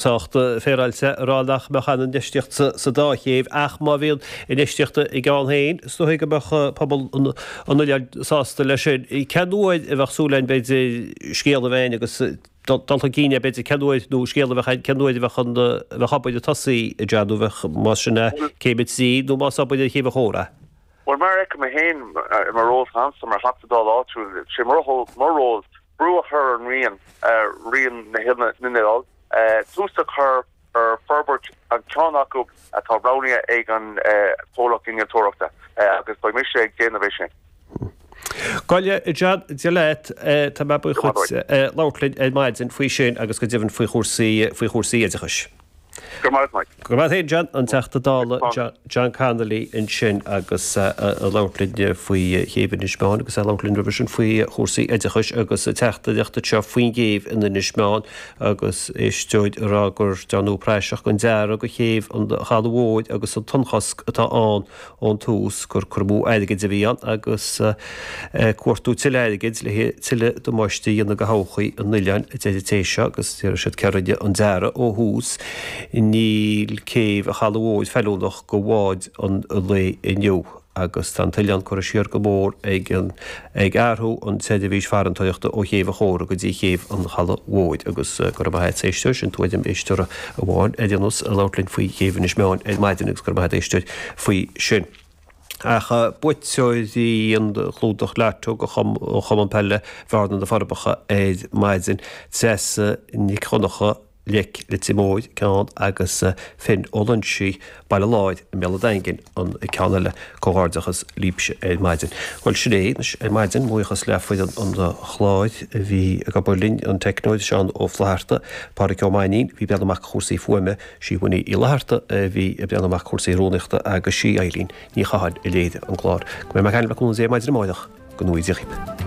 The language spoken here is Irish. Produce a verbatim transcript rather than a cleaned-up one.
Sách féaráilte a rá nach mbeadh aon infheistíocht sa dá chéibh ach má bhíonn infheistíocht i gceann féin, is dóigh go mbeadh pobal an oileáin sásta leis sin. Cén uair a bheadh súil againn b'fhéidir scéal a bheith againn agus dul chun cinn é b'fhéidir cén uair nó scéal a bheith againn cén uair a bheadh an bheadh obair ag tosaí a John nó bheadh más sin é céim a trí nó más obair ar Chéibh an Chóra é. Bhuel mar a fheicim é féin i mo ról féin mar Theachta Dála áitiúil, sé mo ról brú a chur ar an Roinn, Roinn na nOileán, tús a chur ar forbairt an ceann acu atá roghnaithe ag an chomhlacht innealtóireachta agus beidh mise ag déanamh é sin. Gabh i leith, a John, Dia leat, tá mé buíoch dhuit labhairt linn ar maidin faoi sin agus go deimhin faoi chúrsaí faoi chúrsaí oideachais. Go raibh maith agat, Mike. Go raibh maith agat féin, John, an Teachta Dála John Connolly ansin agus ag labhairt linn faoi chéibh Inis Meáin agus ag labhairt linn roimhe sin faoi chúrsaí oideachais agus teachtaireacht anseo faoin gcéibh in Inis Meáin agus éisteoir ag rá gur dearnadh praiseach den dearadh do chéibh an Chalaidh Mhóir agus an tonnchosc atá ann ón tús gur cur amú airgid a bhí ann agus cuartú tuilleadh airgid le tuilleadh damáiste a dhéanamh do thodhchaí an oileáin, a deir an té seo, agus deir siad cé a rinne an dearadh ó thús, níl céibh an Chalaidh Mhóir feiliúnach do bháid an lae inniu agus tá an t-oileán curtha siar go mór ag an ag athrú an tseirbhís farantóireachta ó Chéibh an Chóra go dtí Céibh an Chalaidh Mhóir agus go raibh maith agat a éisteoir, sin tuairim éisteora amháin ar aon nós ag labhairt linn faoi Chéibh Inis Meáin ar maidin agus go raibh maith agat a éisteoir faoi sin. Ach buaiteoirí an chlúdach Lotto do Chumann Peile Bhearna na Forbacha ar maidin, Treasa Nic Dhonncha, Leic Leitir Móir, ceann, agus Finn Ó Loinsigh, Baile Láir i mBéal an Daingin, an ceann eile. Comhghairdeachas libhse ar maidin. Bhuel, sin é anois ar maidin. Buíochas le foireann an chláir a bhí ag obair linn, an teicneoir Seán Ó Flatharta, Pádraic Ó Mainnín, bhí ag breathnú amach chúrsaí fuaime, Síomha Ní Fhlatharta a bhí ag breathnú amach cúrsaí rúnaíochta agus sí Eileen Ní Chatháin a léirigh an clár. Go mbeidh mé ag caint le cúnamh Dé maidin amárach. Go ngnóthaí Dia dhaoibh.